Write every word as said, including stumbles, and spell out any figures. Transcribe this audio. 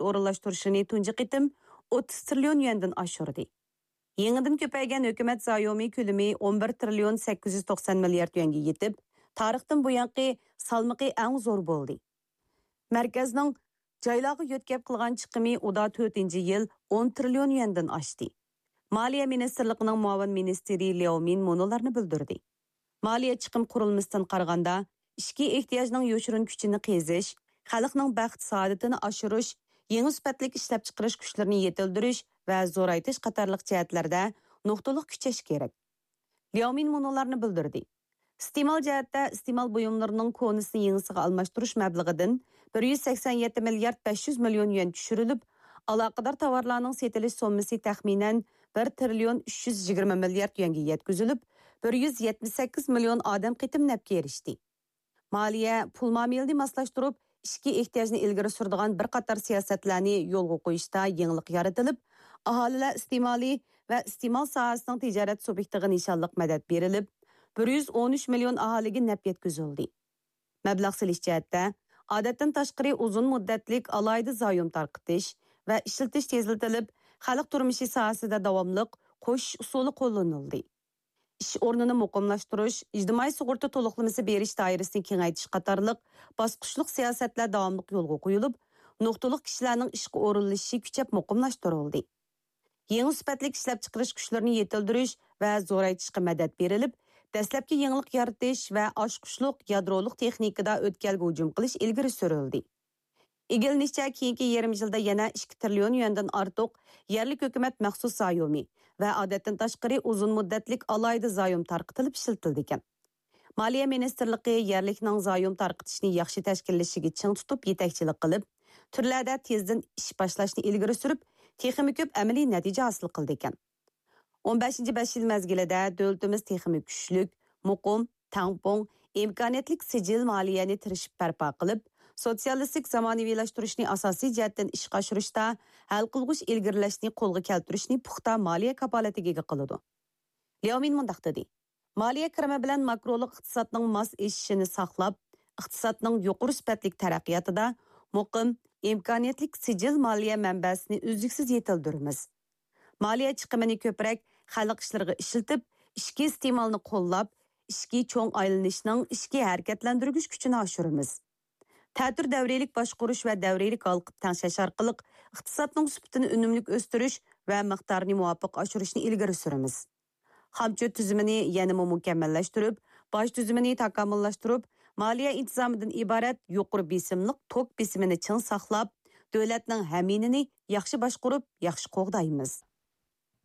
ئورۇنلاشتۇرۇشىنى تۇنجى قېتىم ئوتتۇز تىرىليون يۈەندىن ئاشۇردى. يېڭىدىن كۆپەيگەن ھۆكۈمەت زايومى كۆلىمى ئون بىر تىرىليون سەككىز يۈز توقسان مىليارد يۈەنگە يېتىپ، تارىختىن بۇيانقى سالمىقى ئەڭ زور بولدى. مەركەزنىڭ جايلارغا يۆتكەپ قىلغان چىقىمى ئۇدا تۆتىنچى يىل ئون تىرىليون يۈەندىن ئاشتى. مالىيە مىنىستىرلىقىنىڭ مۇئاۋىن مىنىستىرى لياۋ مىن مۇنۇلارنى بىلدۈردى: مالىيە چىقىم قۇرۇلمىسىدىن قارىغاندا، ئىچكى ئېھتىياجنىڭ يوشۇرۇن كۈچىنى قېزىش، خەلقنىڭ بەخت-سائادىتىنى ئاشۇرۇش، يېڭى سۈپەتلىك ئىشلەپچىقىرىش كۈچلىرىنى يېتىلدۈرۈش ۋە زورايتىش قاتارلىق جەھەتلەردە نۇقتىلىق كۈچەش كېرەك. لياۋ مىن مۇنۇلارنى بىلدۈردى: ئىستېمال جەھەتتە ئىستېمال بۇيۇملىرىنىڭ كونىسىنى يېڭىسىغا ئالماشتۇرۇش مەبلىغىدىن بىر يۈز سەكسەن يەتتە مىليارد بەش يۈز مىليون يۈەن چۈشۈرۈلۈپ، ئالاقىدار تاۋارلارنىڭ سېتىلىش سوممىسى تەخمىنەن بىر تىرىليون ئۈچ يۈز يىگىرمە مىليارد يۈەنگە يەتكۈزۈلۈپ، بىر يۈز يەتمىش سەككىز مىليون ئادەم قېتىم نەپكە ئېرىشتى. مالىيە پۇل مۇئامىلىنى ماسلاشتۇرۇپ، ئىچكى ئېھتىياجنى ئىلگىرى سۈرىدىغان بىر قاتار سىياسەتلەرنى يولغا قويۇشتا يېڭىلىق يارىتىلىپ، ئاھالىلەر ئىستېمالى ۋە ئىستېمال ساھەسىنىڭ تىجارەت سۇبيېكتىغا نىشانلىق مەدەت بېرىلىپ، بىر يۈز ئون ئۈچ مىليون ئاھالىگە نەپ يەتكۈزۈلدى. مەبلەغ سېلىش جەھەتتە، ئادەتتىن تاشقىرى ئۇزۇن مۇددەتلىك ئالاھىدە زايوم تارقىتىش ۋە ئىشلىتىش تېزلىتىلىپ، خەلق تۇرمۇشى ساھەسىدە داۋاملىق قوشۇش ئۇسۇلى قوللىنىلدى. ئىش ئورنىنى مۇقىملاشتۇرۇش، ئىجتىمائىي سۇغۇرتا تولۇقلىمىسى بېرىش دائىرىسىنى كېڭەيتىش قاتارلىق باسقۇچلۇق سىياسەتلەر داۋاملىق يولغا قويۇلۇپ، نۇقتىلىق كىشىلەرنىڭ ئىشقا ئورۇنلىشىشى كۈچەپ مۇقىملاشتۇرۇلدى. يېڭى سۈپەتلىك ئىشلەپچىقىرىش كۈچلىرىنى يېتىلدۈرۈش ۋە زورايتىشقا مەدەت بېرىلىپ، دەسلەپكى يېڭىلىق يارىتىش ۋە ئاچقۇچلۇق يادرولۇق تېخنىكىدا ئۆتكەلگە ھۇجۇم قىلىش ئىلگىرى سۈرۈلدى. ئىگىلىنىشىچە، كېيىنكى يېرىم يىلدا يەنە ئىككى تىرىليون يۈەندىن ئارتۇق يەرلىك ھۆكۈمەت مەخسۇس زايومى ۋە ئادەتتىن تاشقىرى ئۇزۇن مۇددەتلىك ئالاھىدە زايوم تارقىتىلىپ ئىشلىتىلىدىكەن. مالىيە مىنىستىرلىقى يەرلىكنىڭ زايوم تارقىتىشنى ياخشى تەشكىللىشىگە چىڭ تۇتۇپ يېتەكچىلىك قىلىپ، تۈرلەردە تېزدىن ئىش باشلاشنى ئىلگىرى سۈرۈپ، تېخىمۇ كۆپ ئەمەلىي نەتىجە ھاسىل قىلىدىكەن. ئون بەشىنچى بەش يىل مەزگىلىدە دۆلىتىمىز تېخىمۇ كۈچلۈك، مۇقىم، تەڭپۇڭ، ئىمكانىيەتلىك سىجىل مالىيەنى تىرىشىپ بەرپا قىلىپ، سوتسىيالىستىك زامانىۋىلاشتۇرۇشنى ئاساسىي جەھەتتىن ئىشقا ئاشۇرۇشتا ھەل قىلغۇچ ئىلگىرىلەشنى قولغا كەلتۈرۈشنى پۇختا مالىيە كاپالىتىگە ئىگە قىلىدۇ. لياۋ مىن مۇنداق دېدى: مالىيە كىرىمى بىلەن ماكرولۇق ئىقتىسادنىڭ ماس ئېشىشىنى ساقلاپ، ئىقتىسادنىڭ يۇقىرى سۈپەتلىك تەرەققىياتىدا مۇقىم، ئىمكانىيەتلىك سىجىل مالىيە مەنبەسىنى ئۈزلۈكسىز يېتىلدۈرىمىز. مالىيە چىقىمىنى كۆپرەك خەلق ئىشلىرىغا ئىشلىتىپ، ئىچكى ئىستېمالنى قوللاپ، ئىچكى چوڭ ئايلىنىشنىڭ ئىچكى ھەرىكەتلەندۈرگۈچ كۈچىنى ئاشۇرىمىز. تەتۈر دەۋرىيلىك باشقۇرۇش ۋە دەۋرىيلىك ھالقىپ تەڭشەش ئارقىلىق ئىقتىسادنىڭ سۈپىتىنى ئۈنۈملۈك ئۆستۈرۈش ۋە مىقدارىنى مۇۋاپىق ئاشۇرۇشنى ئىلگىرى سۈرىمىز. خامچوت تۈزۈمىنى يەنىمۇ مۇكەممەللەشتۈرۈپ، باج تۈزۈمىنى تاكامۇللاشتۇرۇپ، مالىيە ئىنتىزامىدىن ئىبارەت يۇقىرى بېسىملىق توك بېسىمىنى چىڭ ساقلاپ، دۆلەتنىڭ ھەمىينىنى ياخشى باشقۇرۇپ، ياخشى قوغدايمىز.